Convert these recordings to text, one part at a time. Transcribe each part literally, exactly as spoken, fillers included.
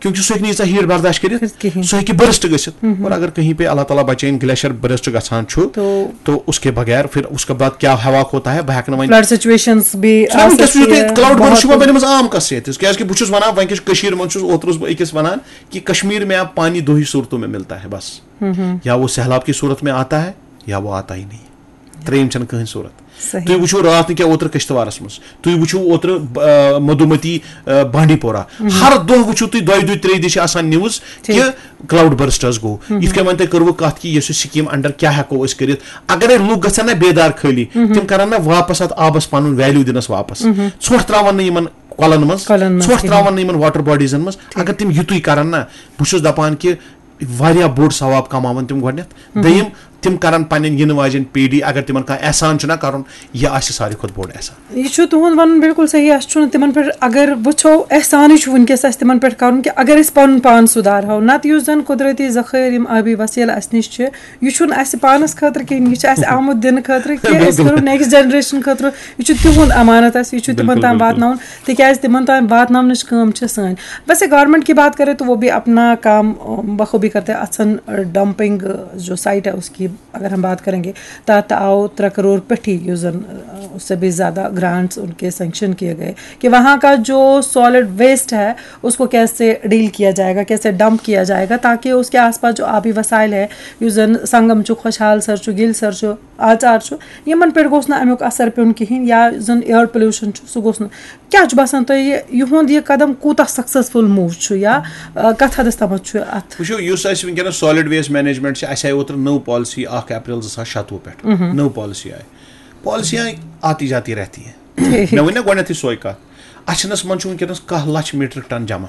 کیونکہ سُہ ہیٚکہِ نہٕ ییٖژاہ ہیٖٹ برداشت کٔرِتھ۔ کٔرِتھ کِہیٖنۍ۔ سُہ ہیٚکہِ برسٹ گٔژھِتھ۔ اور اگر کہیں پہ اللہ تعالیٰ بچٲیِن، گلیشر برسٹ گژھان چھُ، تو تو اس کے بغیر پھر اس کے بعد کیا ہوا ہوتا ہے، بہٕ ہٮ۪کہٕ نہٕ وۄنۍ فلڈ سچویشنز بھی سُہ آ وٕنکیٚس چھُ سکتی یُتُے ہے، کلاؤڈ برسٹ چھُ بہت وۄنۍ بنیمٕژ عام قصہٕ ییٚتہِ، کیازِ کہِ بہٕ چھُس ونان، وۄنۍ کیٛاہ چھُ کٔشیٖرِ منٛز، چھُس اوترٕ اوسُس بہٕ أکِس ونان کہ کشمیر میں آپ پانی دو ہی صورتوں میں ملتا ہے بس۔ یا وہ سیلاب کی صورت میں آتا ہے یا وہ آتا ہی نہیں۔ ترٛیٚیِم چھنہٕ کٕہٕنۍ صورت۔ صحیح۔ تُہۍ وٕچھِو راتھ نہٕ کیٛاہ اوترٕ کشتوارس منٛز، تُہۍ وٕچھِو اوترٕ آ، مدھومتی آ، بانڈی پورہ، ہر دۄہ وٕچھِو تُہۍ، دۄیہِ دۄہہِ ترٛیٚیہِ دۄہہِ چھِ آسان نیوز ٹھیٖک۔ کہ کلاؤڈ برسٹ حظ گوٚو۔ یِتھ کٔنۍ وۄنۍ تۄہہِ کٔروٕ کتھ کہِ یۄس یہِ سکیٖم انڈر کیٛاہ ہٮ۪کو أسۍ کٔرِتھ، اگرے لُکھ گژھن نہ بیدار خٲلی، تِم کرن نہ واپس اتھ آبس پنُن ویلیو دِنس واپس۔ ژھۄٹھ تراون نہٕ یِمن کۄلن منٛز، کۄلن منٛز ژھۄٹھ کِہیٖنۍ۔ تراون نہٕ یِمن واٹر باڈیزن منٛز۔ اگر تِم یِتُے کرن نہ، بہٕ چھُس دپان کہِ واریاہ بوٚڑ ثواب کماون تِم گۄڈٕنٮ۪تھ۔ دوٚیِم، تِم کرن پننٮ۪ن یِنہٕ واجٮ۪ن پیٖڈی، اگر تِمن کانٛہہ احسان چھُنہ کرُن، یہِ آسہِ ساروی کھۄتہٕ بوٚڑ احسان۔ یہِ چھُ تُہُنٛد وَنُن بِلکُل صحیح۔ اَسہِ چھُنہٕ تِمَن پٮ۪ٹھ، اگر وٕچھو، احسانٕے چھُ وٕنکیٚس اَسہِ تِمَن پٮ۪ٹھ کَرُن کہِ اگر أسۍ پَنُن پان سُدھارہو، نَتہٕ یُس زَن قۄدرٔتی ذخٲیر، یِم آبی وسیلہٕ اَسہِ نِش چھِ، یہِ چھُنہٕ اَسہِ پانَس خٲطرٕ کِہیٖنۍ، یہِ چھُ اَسہِ آمُت دِنہٕ خٲطرٕ کہِ أسۍ بِلکُل۔ کَرو نیکسٹ جنریشن خٲطرٕ۔ یہِ چھُ تِہُنٛد امانت اَسہِ، یہِ چھُ تِمَن بِلکُل، تام بِلکُل۔ واتناوُن، تِکیٛازِ تِمَن تام واتناونٕچ کٲم چھِ سٲنۍ۔ ویسے گورنمنٹ کی بات کرے تو وہ بھی اپنا کام، اَ، بخوبی کرتے۔ اَتھ چھَنہٕ، اَ، ڈمپنگ، اَ، جو سائٹ ہے اس کی اگر ہم بات کریں گے، تحت آؤ ترٛےٚ کروڑ پٮ۪ٹھی، یُس زَن، اَ، اس سے بھی زیادہ گرانٹس ان کے سینکشن کیے گئے کہ وہاں کا جو سالڈ ویسٹ ہے اس کو کیسے ڈیل کیا جائے گا، کیسے ڈمپ کیا جائے گا، تاکہ اس کے آس پاس جو آبی وسائل ہے، یُس زَن سنگم چھُ، خۄشحال سر چھُ، گِلۍ سر چھُ، آچار چھُ، یِمن پٮ۪ٹھ گوٚژھ نہٕ اَمیُک اثر پیوٚن کِہیٖنۍ، یا یُس زَن ایئر پولیوشن چھُ سُہ گوٚژھ نہٕ۔ کیٛاہ چھُ باسان تۄہہِ، یہِ، یِہُنٛد یہِ قدم کوٗتاہ سکسیسفل موو چھُ یا، اَ، کَتھ حدس تامَتھ چھُ اَتھ؟ وٕچھِو، یُس اَسہِ وٕنکیٚنَس سالڈ ویسٹ مینجمنٹ چھِ، اَسہِ آیہِ اوترٕ نٔو پالیسی اَکھ اپریل زٕ ساس شَتوُہ پٮ۪ٹھ۔ نٔو پالیسی آیہِ۔ پالیسیاں آتی جاتی رہتی ہیں۔ مےٚ ووٚن نہ گۄڈٕنٮ۪تھٕے سۄے کَتھ، اَچھَنَس منٛز چھُ وٕنکیٚنَس کاہ لَچھ میٖٹرِک ٹن جمع۔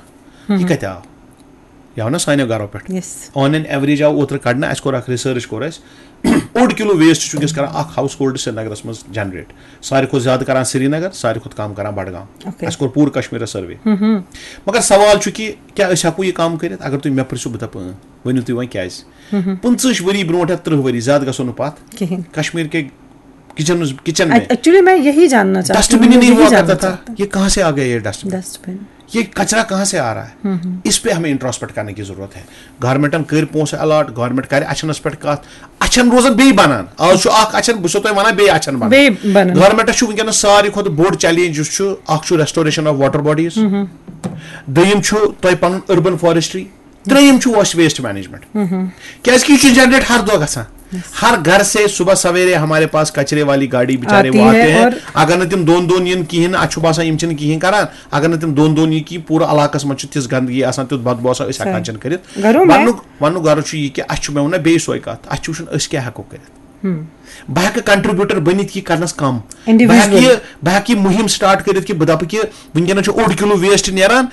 یہِ کَتہِ آو؟ یہِ آو نہ سانیو گرو پٮ۪ٹھ۔ یس۔ آن این ایوریج آو اوترٕ کَڑنہٕ، اَسہِ کوٚر اَکھ ریسرچ کوٚر اَسہِ، اوٚڑ کِلوٗ ویسٹ چھُ وٕنکیٚس کران اَکھ ہاوُس ہولڈ سرینگرَس منٛز جنریٹ۔ ساروی کھۄتہٕ زیادٕ کران سرینگر، ساروی کھۄتہٕ کم کران بڈگام۔ اوکے۔ اَسہِ کوٚر پوٗرٕ کشمیٖرَس سروے۔ مگر سوال چھُ کہِ کیٛاہ أسۍ ہٮ۪کو یہِ کم کٔرِتھ؟ اگر تُہۍ مےٚ پرژھِو، بہٕ دَپہٕ اۭں، ؤنِو تُہۍ وۄنۍ کیٛازِ؟ پٕنٛژٕہٕچ ؤری برونٛٹھ یا تٕرٛہ ؤری، زیادٕ گژھو نہٕ پَتھ، کِہیٖنۍ۔ کشمیر کے کچن، کچن میں ایکچولی میں یہی جاننا چاہتی ہوں، ڈسٹبن ہی میں نہیں یہی ہوا جاننا کرتا تھا۔ چاہتی یہ کہاں سے آ گیا یہ ڈسٹبن؟ ہوں۔ ڈسٹبن۔ یہ کچرا کہاں سے آ رہا ہے؟ اس پہ ہمیں انٹروسپیکٹ کرنے کی ضرورت ہے۔ گورنمنٹن کٔرۍ پونٛسہٕ الاٹ، گورنمنٹ کرِ اچھنس پٮ۪ٹھ کتھ، اچھن روزن بیٚیہِ بنان۔ آز چھُ اکھ اچھن، بہٕ چھُسو تۄہہِ ونان، بیٚیہِ اچھن بنان۔ بیٚیہِ بنان۔ گورنمنٹس چھُ وٕنکیٚنس ساروی کھۄتہٕ بوٚڑ چیلنج یُس چھُ، اکھ چھُ ریسٹوریشن آف واٹر باڈیز، دوٚیِم چھُ تۄہہِ پنُن اربن فارسٹری، ترٛیٚیِم چھُ اَسہِ ویسٹ مینجمنٹ۔ کیازِ کہِ یہِ چھُ جنریٹ ہر دۄہ گژھان۔ ہر گھر سے صبح سویرے ہمارے پاس کچرے والی گاڑی بیچارے آتی وہ آتے ہے ہیں۔ اور اگر نہٕ تِم دۄن دۄن یِن کِہیٖنۍ نہٕ، اَتھ چھُ باسان یِم چھِنہٕ کِہیٖنۍ کران۔ اگر نہٕ تِم دۄن دۄن یِن کِہیٖنۍ، پوٗرٕ علاقس منٛز چھِ تِژھ گندگی آسان، تیُتھ بدبو آسان، أسۍ ہٮ۪کان صحیح۔ چھِنہٕ کٔرِتھ۔ گرو میں۔ وننُک وننُک غرض چھُ یہِ کہِ اَسہِ چھُ، مےٚ ووٚن نہ بیٚیہِ سۄے کتھ، اَسہِ چھُ وٕچھُن أسۍ کیٛاہ ہٮ۪کو کٔرِتھ۔ بہٕ ہٮ۪کہٕ کنٹریبیوٹر بٔنِتھ یہِ کرنس کم۔ بہٕ Individual۔ ہٮ۪کہٕ یہِ، بہٕ ہٮ۪کہٕ یہِ مُہِم سٹارٹ کٔرِتھ کہِ بہٕ دپہٕ کہِ وٕنکیٚنس چھُ اوٚڑ کِلوٗ ویسٹ نیران،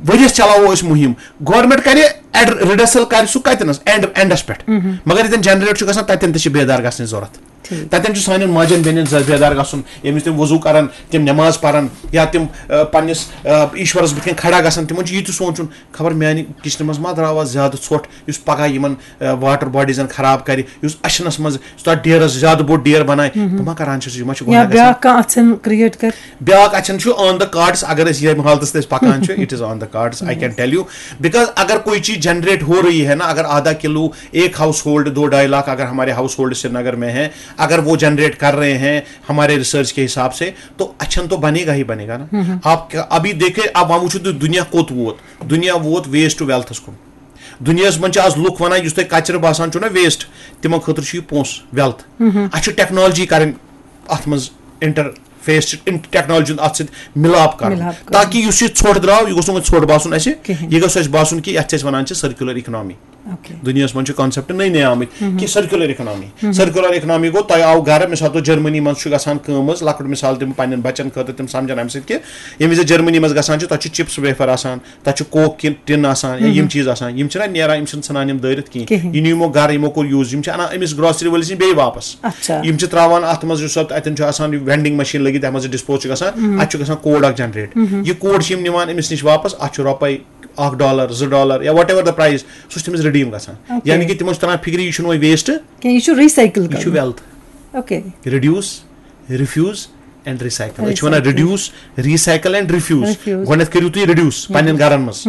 ؤریس چلاوو أسۍ مُہِم۔ گورنمنٹ کرِ ایڈ-، ریڈسل کرِ سُہ کتٮ۪نس؟ اینڈ، اینڈس پٮ۪ٹھ۔ مگر ییٚتٮ۪ن جنریٹ چھُ گژھان، تتٮ۪ن تہِ چھِ بیدار گژھنٕچ ضروٗرت۔ ٹھیٖک۔ تتٮ۪ن چھُ سانٮ۪ن ماجن بیٚنٮ۪ن زیادٕ بیدار گژھُن، ییٚمہِ وِزِ تِم وضوٗ کرن، تِم نٮ۪ماز پرن یا تِم، آ، پننِس، آ، ایشورس بٕتھِ کَنۍ کھڑا گژھن، تِمن چھُ یہِ تہِ سونٛچُن، خبر میانہِ کچنہٕ منٛز ما درٛاو آز زیادٕ ژھۄٹھ، یُس پگاہ یِمن، آ، واٹر باڈیزن خراب کرِ، یُس اچھنس منٛز، یُس تتھ ڈیرس زیادٕ بوٚڑ ڈیر بنایہِ، بہٕ ما کران چھُس، یہِ ما چھُ یا گۄناہ گژھان؟ بیٛاکھ کانٛہہ اَژھن کریٹ کر۔ بیٛاکھ اچھن چھُ on the cards، اگر أسۍ ییٚمہِ حالتس تہِ أسۍ پکان چھِ، it is on the cards, I can tell you, because اگر کوئی چیز جنریٹ ہو رہی ہے نا، اگر آدھا کلو ایک ہاؤس ہولڈ، دو ڈھائی لاکھ اگر ہمارے ہاؤس ہولڈ سری نگر میں ہیں، اگر وہ جنریٹ کر رہے ہیں ہمارے ریسرچ کے حساب سے، تو اچھن تو بنے گا ہی بنے گا نا۔ آپ کیا، ابھی دیکھیں، اب وۄنۍ وٕچھِو تُہۍ دُنیا کوٚت ووت، دُنیا ووت ویسٹ ٹو ویلتھس کُن۔ دُنیاہس منٛز چھِ آز لُکھ ونان، یُس تۄہہِ کچرٕ باسان چھُو نا ویسٹ، تِمن خٲطرٕ چھُ یہِ پونٛسہٕ ویلتھ۔ اَسہِ چھُ ٹیکنالوجی کرٕنۍ اتھ منٛز انٹرفیس، ٹیکنالوجی ہُنٛد اتھ سۭتۍ ملاپ کرُن، ملاپ کرُن۔ تاکہ یُس یہِ ژھۄٹھ درٛاو، یہِ گوٚژھ نہٕ وۄنۍ ژھۄٹھ باسُن اَسہِ، کِہیٖنۍ۔ یہِ گوٚژھ اَسہِ باسُن کہِ یتھ چھِ أسۍ ونان چھِ سرکیولر اکنامی۔ اوکے۔ دُنیاہس منٛز چھِ کانسیپٹ نٔے نٔے آمٕتۍ کہِ سرکیولر اکنامی۔ سرکیولر اکنامی گوٚو، تۄہہِ آو گرٕ، مثال طور جرمنی منٛز چھُ گژھان کٲم حظ، لۄکُٹ مثال دِمہٕ پننٮ۪ن بچن خٲطرٕ، تِم سمجھن امہِ سۭتۍ کہِ ییٚمہِ وِزِ جرمنی منٛز گژھان چھِ، تتہِ چھُ چپس ویفر آسان، تتہِ چھُ کوک کہِ ٹِن آسان یا یِم چیٖز آسان، یِم چھِنہ نیران، یِم چھِنہٕ ژھٕنان یِم دٲرِتھ کِہیٖنۍ۔ کِہیٖنۍ۔ یہِ نِمو گرٕ، یِمو کوٚر یوٗز، یِم چھِ انان أمِس گروسری وٲلِس نِش بیٚیہِ واپس۔ اچھا۔ یِم چھِ تراوان اتھ منٛز، یُس اتھ، اتٮ۪ن چھُ آسان یہِ وینڈنگ مشین لٔگِتھ، یتھ منٛز یہِ ڈسپوز چھُ گژھان، اتھ چھُ گژھان کوڈ اکھ جنریٹ۔ یہِ کوڈ چھِ یِم نِوان أمِس نِش واپس، اتھ چھُ رۄپے اکھ ڈالر، زٕ ڈالر یا وٹ ایور دا پرایز، سُہ چھُ تٔمِس رِڈیٖم گژھان۔ اوکے۔ یعنی کہِ تِمن چھُ تران فِکرِ، یہِ چھُنہٕ وۄنۍ ویسٹ، کینٛہہ، یہِ چھُ ریسایکل یہِ چھُ کرُن۔ Wealth. Okay. Reduce, refuse and recycle. أسۍ چھِ وَنان Recycle۔ Reduce, recycle and refuse. Refuse۔ گۄڈٕنٮ۪تھ کٔرِو تُہۍ ریڈیوس پننٮ۪ن گرن منٛز۔